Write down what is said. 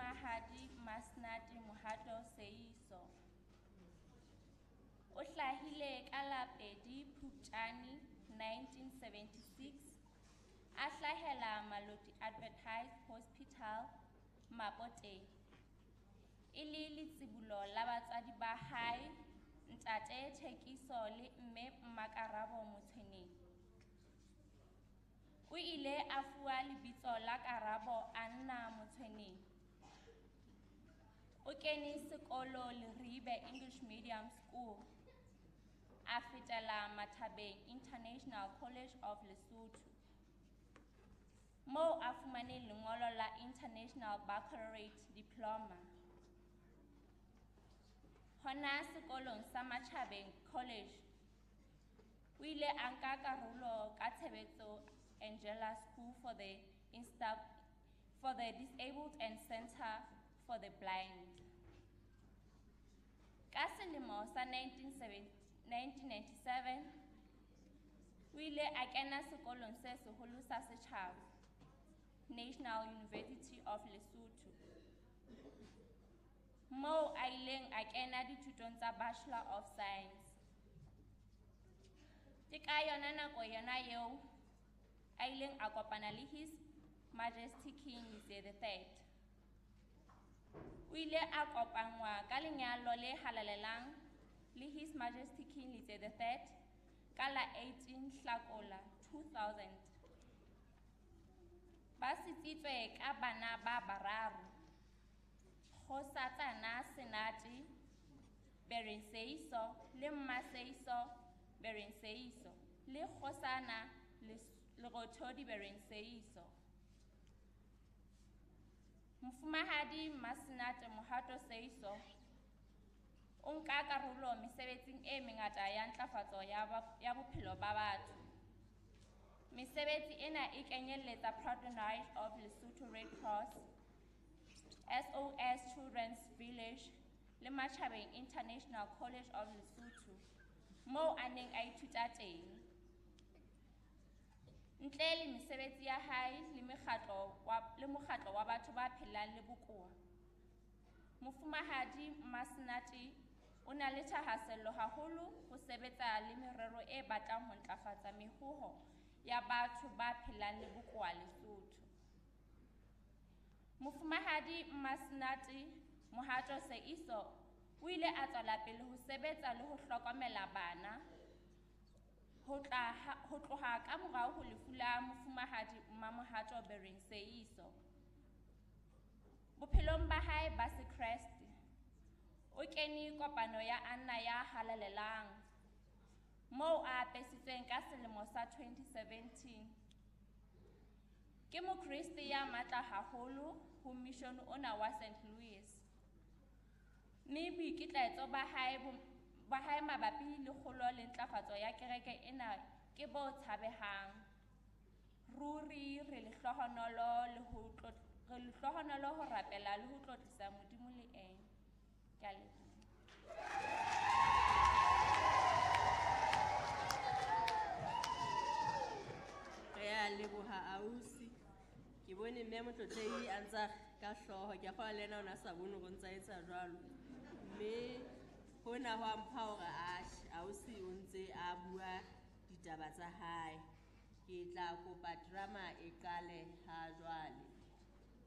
Mofumahadi Masenate Mohato Seeiso. O hlahile ka la 2 Phupjane 1976, a hlahela Maloti Adventist Hospital, Mapoteng. E le letsibolo la batswadi ba hae, ntate Thekiso le mme Mmakarabo Motshweneng. O ile a fuwa lebitso la Karabo Anna Motshweneng. O kene sekolo Leribe English Medium School. A fetela Mathabeng International College of Lesotho, moo a fumaneng lengolo la International Baccalaureate Diploma. Hona sekolong sa Mathabeng College, o ile a nka karolo ka tshebetso Angela School for the Disabled and Center for the Blind. Ka selemo sa 1997, o ile a kena sekolong se seholo sa setjhaba, National University of Lesotho, moo a ileng a kena dithutong tsa Bachelor of Science. Ke ka yona nako yona eo a ileng a kopana le His Majesty King Letsie the Third. O ile a kopanngwa ka lenyalo le halalelang le His Majesty King Letsie the Third ka la 18 Hlakola 2000. Ba sitsitswe ka bana ba bararo, Kgosatsana Senate Bereng Seeiso le Mmaseiso Bereng Seeiso le Kgosana Lerothodi Bereng Seeiso. Mofumahadi Masenate Mohato Seeiso o nka karolo mesebetsing e mengata ya ntlafatso ya bophelo ba batho. Mesebetsi ena e kenyelletsa Patronage of Lesotho Red Cross, SOS Children's Village le Matjhabeng International College of Lesotho, moo a neng a ithuta teng. Ntle le mesebetsi ya hae le mokgatlo wa batho ba phelang le bokowa, Mofumahadi Masenate o na le thahasello haholo ho sebetsa le merero e batlang ho ntlafatsa mehoho ya batho ba phelang le bokowa Lesotho. Mofumahadi Masenate Mohato Seeiso o ile a tswela pele ho sebetsa le ho hlokomela bana ho tloha ka morao ho lefu la Mofumahadi Mmamohato Bereng Seeiso. Bophelong ba hae ba sekreste, o kene kopano ya Anna ya Halalelang, moo a apesitsweng ka selemo sa 2017. Ke mokreste ya matla haholo ho mission ona wa St. Louis. Mme boikitlaetso ba hae mabapi le kgolo le ntlafatso ya kereke ena ke bo tshabehang. Ruri re lehlohonolo ho rapela le ho tlotlisa Modimo le ena. Ke a leboha. Re a leboha ausi. Ke bone mme Motlotlehi a ntsa ka hlooho, ke a kgolwa le yena o ne a sa bone hore o ntsa etsa jwalo. Mme hona ho a mpha hore atjhe, ausi o ntse a bua ditaba tsa hae. Ke tla kopa drama e qale